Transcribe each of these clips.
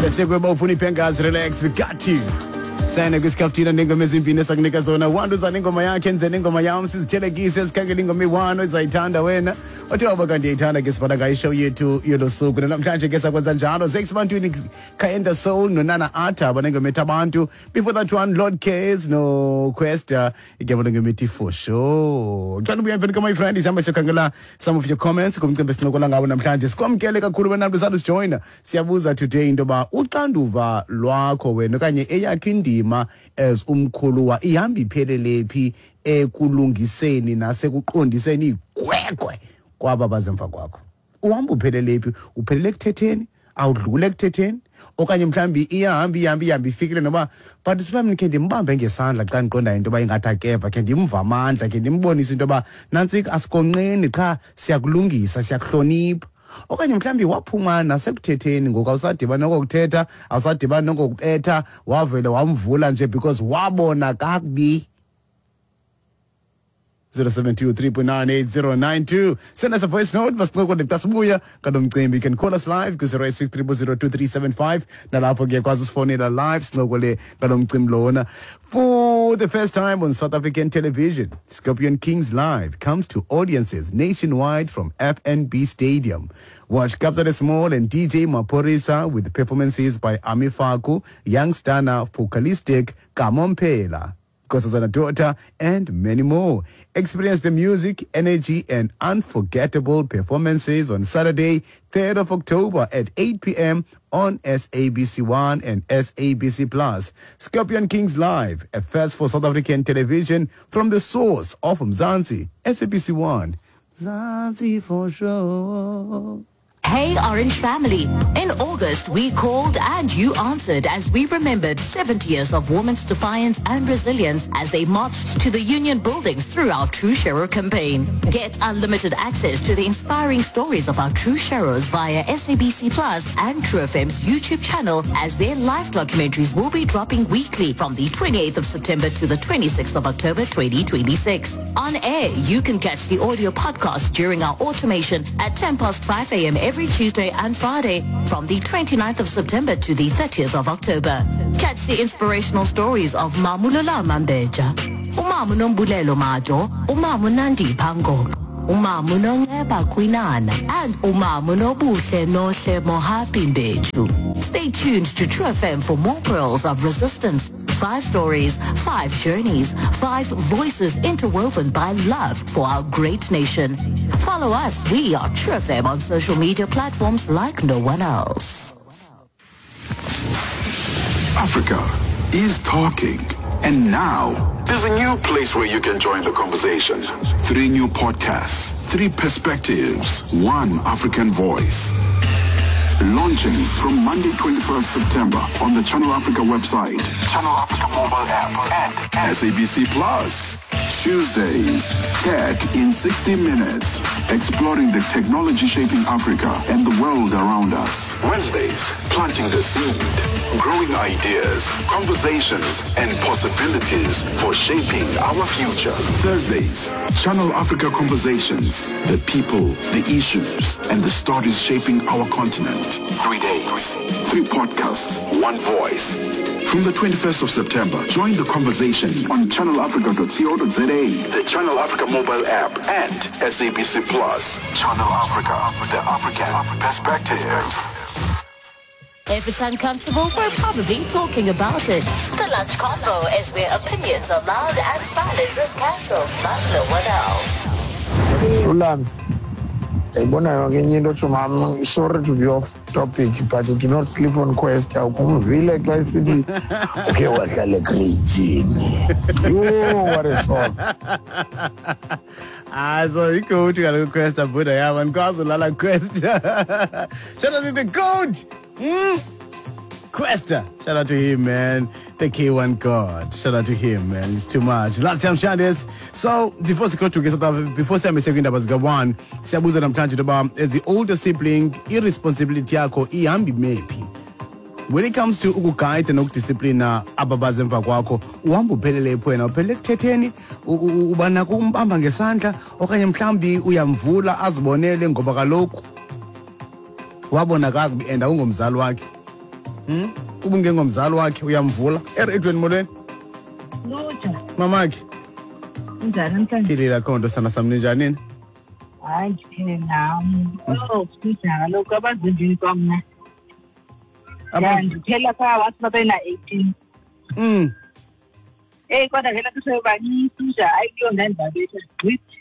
Bese kuba ufuna ipengas, relax, we got you. Sene kwisikhafuthina nengoma ezimbini esakunika zona. One uza nengoma yakhe, enze nengoma yam, sizithelekise, sikhangele ingoma eyi-one ozayithanda wena. Othe waba kanti uyayithanda ke, sibhala ngayo ishow yethu yolo suku. Namhlanje ke sakwenza njalo. Zex Bantwini, Kaenda Soul noNana Atha banengoma ethi Abantu. Before that one, Lord Cares no Questa, igama lengoma ethi For Sure. Xa nibuya emveni my friend, sihamba siyokhangela some of your comments kumcimbi esincokola ngawo namhlanje. Sikwamkele kakhulu wena mntu usandusijoyina. Siyabuza today into yoba uxanduva lwakho wena okanye eyakho indima as umkhuluwa ihamba iphelele phi ekulungiseni nasekuqondiseni igwegwe kwaba bazemva kwakho. Uhamba uphelele phi? Uphelele ekuthetheni? Awudlule ekuthetheni? Okanye mhlawumbi iyahamba ihambe ihambe ifikile noba but sulamni khe ndimbambe ngesandla xa ndiqondayo into yoba ingathi akeva, khe ndimva amandla, khe ndimbonise into yoba nantsika, asikonqeni qha siyakulungisa, siyakuhlonipha. Okanye mhlawumbi waphuma nasekuthetheni ngoku, awusadibani nokokuthetha, awusadibani nokokubetha, wavele wamvula nje because wabona kakubi. 072 3.98092. Send us a voice note, masincokole xa sibuya ngalo mcimbi. You can call us live ku-086 0002375, nalapho kuyakwazi usifonela live, sincokole ngalo mcimbi lona. For the first time on South African television, Scorpion Kings Live comes to audiences nationwide from FNB Stadium. Watch Kabza Small and DJ Maphorisa with performances by Ami Faku, Young Stunna, Focalistic, Kamo Mphela, Nkosazana Daughter, and many more. Experience the music, energy, and unforgettable performances on Saturday, 3rd of October at 8 p.m. on SABC1 and SABC Plus. Scorpion Kings Live, a first for South African television from the source of Mzansi, SABC1. Mzansi for sure. Hey Orange family. In August, we called and you answered as we remembered 70 years of women's defiance and resilience as they marched to the union buildings through our True Sharer campaign. Get unlimited access to the inspiring stories of our True Sharers via SABC Plus and True FM's YouTube channel, as their live documentaries will be dropping weekly from the 28th of September to the 26th of October 2026. On air, you can catch the audio podcast during our automation at 10 past 5 a.m. every Tuesday and Friday from the 29th of September to the 30th of October. Catch the inspirational stories of Mamulula Mambeja, Umamu Nombulelo Mado, Umamu Nandi Pango, Umamu Nonceba Kwinana, and Umamu Nobuhle Nohle Mohapi Mbeju. Stay tuned to True FM for more pearls of resistance. 5 stories, 5 journeys, 5 voices interwoven by love for our great nation. Follow us. We are True FM on social media platforms like no one else. Africa is talking. And now, there's a new place where you can join the conversation. 3 new podcasts, 3 perspectives, 1 African voice. Launching from Monday 21st September on the Channel Africa website, Channel Africa mobile app, and SABC Plus. Tuesdays, Tech in 60 Minutes, exploring the technology shaping Africa and the world around us. Wednesdays, planting the seed, growing ideas, conversations, and possibilities for shaping our future. Thursdays, Channel Africa Conversations, the people, the issues, and the stories shaping our continent. 3 days, 3 podcasts, 1 voice. From the 21st of September, join the conversation on channelafrica.co.za, the Channel Africa mobile app, and SABC Plus. Channel Africa, the African perspective. If it's uncomfortable, we're probably talking about it. The Lunch Convo is where opinions are loud and silence is cancelled like no one else. Ulam, ndayibona yonke enye into tsho mam, sorry to be off topic, but do not sleep on Quest. Awukumvile xa isithi ukhe wahlala ekreyithini. Yho, what a song. Ah, so igoat kaloku Quest, buda yam, andikwazi ulala Quest. Shout out to the goat. Questa. Shout out to him, man. The K1 God. Shout out to him, man. It's too much. Last time Shandis. So before sigoduke South Africa, before sihambe siye kwiindaba zika-1, siyabuza namhlanje into yoba as the older sibling, irresponsibility yakho ihamba imephi? When it comes to ukugayida nokudisiplina aba baze emva kwakho, uhamba uphelele phi wena? Uphelele ekuthetheni, uba nako umbamba ngesandla, okanye mhlawumbi uyamvula azibonele ngoba kaloku wabona kakubi and awungomzali wakhe? Uba ungengomzali wakhe uyamvula. Ereyidweni, molweni. Luja. Mamakhe. Kunjani namhlanje? Philile, akho nto, sana sam, ninjani nina? Hayi, ndiphile nam. Oh, sija kaloku abazembini kwamna. Ya, ndiphela phaa wathi babena-18. Eyi, kodwa ke nathi sebebancinci nje, hayi kuyo ndandibabetha gqithi.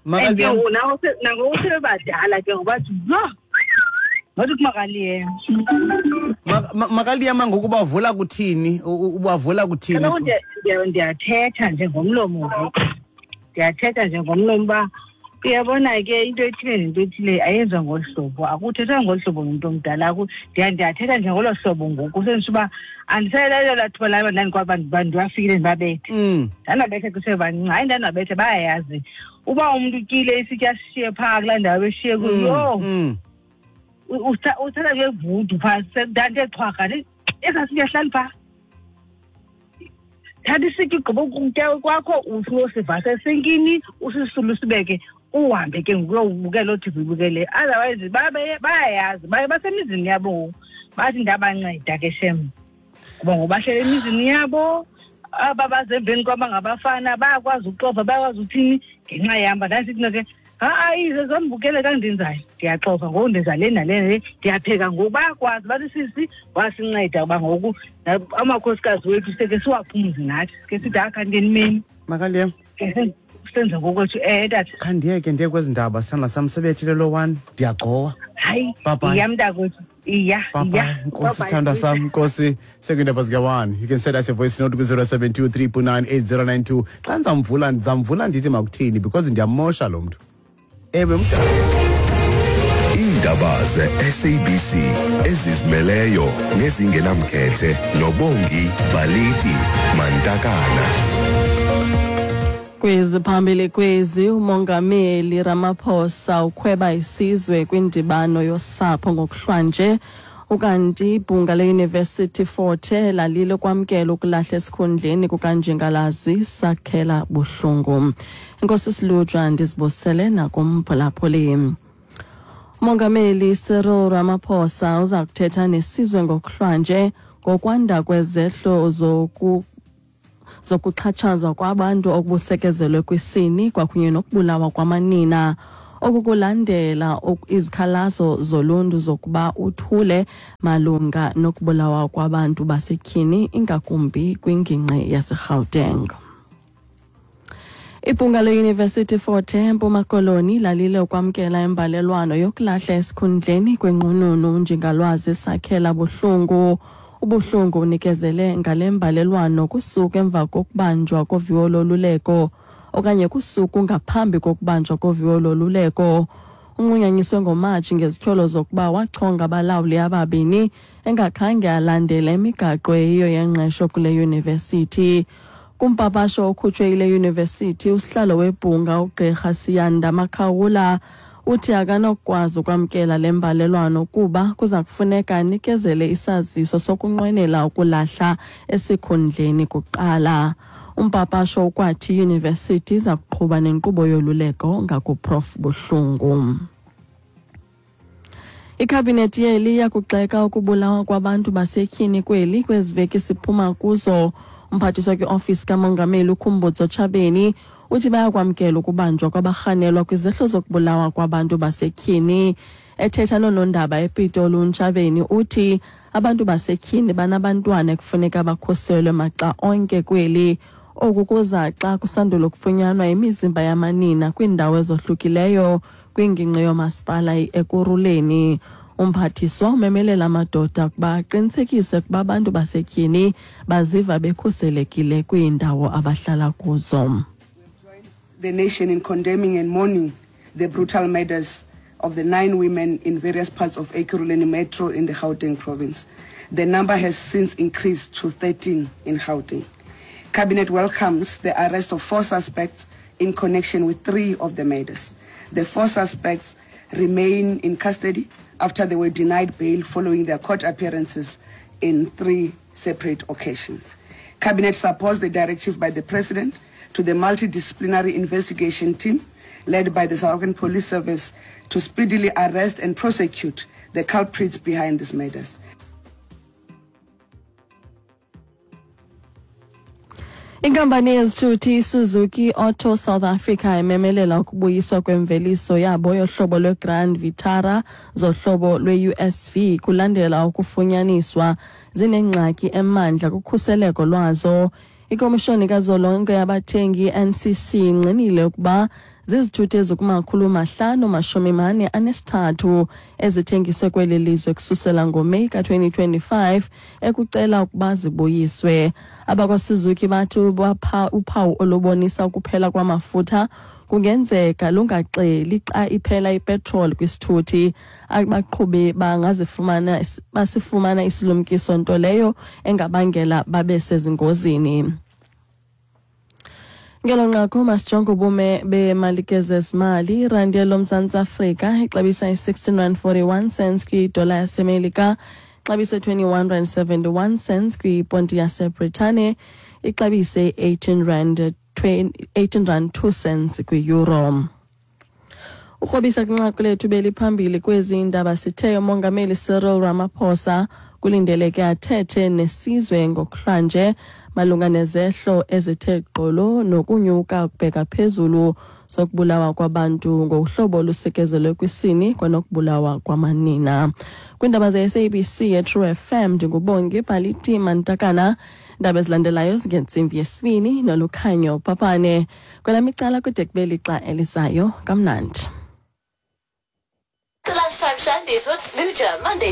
And ke ngoku nangoku sebebadala ke ngoba thi yho, ngathi kumakaliyema. Makaliyema ngoku ubavula kuthini? Ubavula kuthini? Kaloku ndiyathetha nje ngomlomo ngoku. Ndiyathetha nje ngomlomo uba uyabona ke into ethile nento ethile ayenziwa ngolu hlobo, akuthethwa ngolu hlobo nomntu omdala. Ndiyathetha nje ngolo hlobo ngoku, senditsho uba andisayelelo laa thuba laba ndandikwaba ndiwafikile ndibabethe. Ndandibabethe kusebancinci, hayi ndandibabethe, bayayazi uba umntu utyile isitya sishiye phaa kulaa ndawo beshiye kuyo. Yho! Uthatha ke vudu phaa, ndandithe xhwarha, esaa sitya sihlali phaa. Thatha isitya ugqiba ukutya kwakho, uyosivasa esinkini, usisule usibeke, uhambe ke ngoku uyobukela loo TV ubukele. Otherwise bayayazi, baye basemizini yabo ngoku. Bathi ndabanceda ke shem, ngoba ngoku bahlele emizini yabo. Aba bazemveni kwaba ngabafana bayakwazi uxova, bayakwazi uthini ngenxa yam. Ndandisithi mna ke, ha-a, ize zondibukele xa ndenzayo, ndiyaxova ngoku, ndenza le nale nale, ndiyapheka ngoku. Bayakwazi, bathi sisi wasinceda uba ngoku amakhosikazi wethu seke siwaphumze nathi, ke sithi akha ngenimeni. Makaliyem. Ke senze ngokwethu. Tata. Khandiyeke ndiye kwezi ndaba, sithanda sam, sebethile lo one, ndiyagqowa. Hayi, Bye bye. iya mntakwethu, iya, Bye bye. iya. Nkosi, Bye bye. sithanda sam, Nkosi. Sekwiindaba zika-1. You can send us a voice note ku-072 3.9 8092. Xa ndizamvula, ndizamvula ndithi makuthini, because ndiyamosha lo mntu. Ewe, mntu. Iindaba ze-SABC ezizimeleyo nezingenamkhethe noBongi Baliti Mantakana. Kweziphambili kwezi, uMongameli Ramaphosa ukhweba isizwe kwindibano yosapho ngokuhlwanje. Ukanti ibhunga le-University Fort Hare lalile kwamkela ukulahla esikhundleni kukanjingalazwi Sakhela Buhlungu. Enkosi Silujwa, ndizibusele nakumphulaphuli. Umongameli Cyril Ramaphosa uza kuthetha nesizwe ngokuhlwanje ngokwanda kwezehlo zokuxhatshazwa kwabantu okubusekezelwe kwisini kwakunye nokubulawa kwamanina. Oku kulandela izikhalazo zoluntu zokuba uthule malunga nokubulawa kwabantu basetyhini, ingakumbi kwingingqi yaseGauteng. Ibhunga le-University Fort Hare eMpuma Koloni lalile ukwamkela imbalelwano yokulahla esikhundleni kwenqununu uNjingalwazi Sakhela Buhlungu. Ubuhlungu unikezele ngale mbalelwano kusuku emva kokubanjwa koviwo loluleko okanye kusuku ngaphambi kokubanjwa koviwo loluleko. Unqunyanyiswe ngoMatshi ngezityholo zokuba wachonga abalawuli ababini engakhange alandele imigaqo eyiyo yengqesho kule yunivesithi. Kumpapasho okhutshwe yile yunivesithi, usihlalo webhunga uGqirha Siyanda Makhawula uthi akanokukwazi ukwamkela le mbalelwano kuba kuza kufuneka anikezele isaziso sokunqwenela ukulahla esikhundleni kuqala. Umpapasho ukwathi iyunivesithi iza kuqhuba nenkqubo yoluleko ngakuProf Buhlungu. Ikhabinethi yeli iyakugxeka ukubulawa kwabantu basetyhini kweli kwezi veki siphuma kuzo. Umphathiswa kwiofisi kaMongameli uKhumbudzo Ntshavheni uthi bayakwamkela ukubanjwa kwabarhanelwa kwizehlo zokubulawa kwabantu basetyhini. Ethetha noonondaba ePitoli, uNtshavheni uthi abantu basetyhini banabantwana ekufuneka bakhuselwe maxa onke kweli. Oku kuza xa kusandula ukufunyanwa imizimba yamanina kwiindawo ezohlukileyo kwingingqi yomasipala Ekurhuleni. Umphathiswa umemelela amadoda ukuba aqinisekise ukuba abantu basetyhini baziva bekhuselekile kwiindawo abahlala kuzo. The nation in condemning and mourning the brutal murders of the 9 women in various parts of Ekurhuleni Metro in the Gauteng province. The number has since increased to 13 in Gauteng. Cabinet welcomes the arrest of 4 suspects in connection with 3 of the murders. The 4 suspects remain in custody after they were denied bail following their court appearances in 3 separate occasions. Cabinet supports the directive by the President to the multidisciplinary investigation team led by the South African Police Service to speedily arrest and prosecute the culprits behind these murders. Inkampani yezithuthi iSuzuki Auto South Africa imemelela ukubuyiswa kwemveliso yabo yohlobo lweGrand Vitara zohlobo lwe-USV kulandela ukufunyaniswa zinengxaki emandla kukhuseleko lwazo. Ikomishoni kazolonke yabathengi i-NCC ingqinile ukuba zizithuthi ezikumakhulu 543 ezithengiswe kweli lizwe kususela ngoMeyi ka-2025 ekucela ukuba zibuyiswe. AbakwaSuzuki bathi uphawu olubonisa ukuphela kwamafutha kungenzeka lungaxeli xa iphela ipetroli kwisithuthi. Abaqhubi bangazifumana basifumana isilumkiso, nto leyo engabangela babe sezingozini. Ngelo nqaku masijonge ubume bemalike zezimali. Irandi loMzantsi Afrika ixabisa i-16 rand 41 cents kwidola yaseMelika, ixabise 21 rand 71 cents kwiponti yaseBritane, ixabise 18 rand 18 rand 2 cents kwi-euro. Ukrobisa kwinqaku lethu beliphambili kwezi ndaba, sithe uMongameli Cyril Ramaphosa kulindeleke athethe nesizwe ngokuhlwanje malunga nezehlo ezithe gqolo nokunyuka kubheka phezulu sokubulawa kwabantu ngohlobo olusekezelwe kwisini kwanokubulawa kwamanina. Kwiindaba ze-SABC ye-True FM, ndinguBongi Bhaliti Mantakana. Iindaba ezilandelayo zingentsimbi yesibini noLukhanyo Papane. Kwelam icala kude kube lixa elizayo, kamnandi. The Lunchtime Shandies with Smooja, Monday.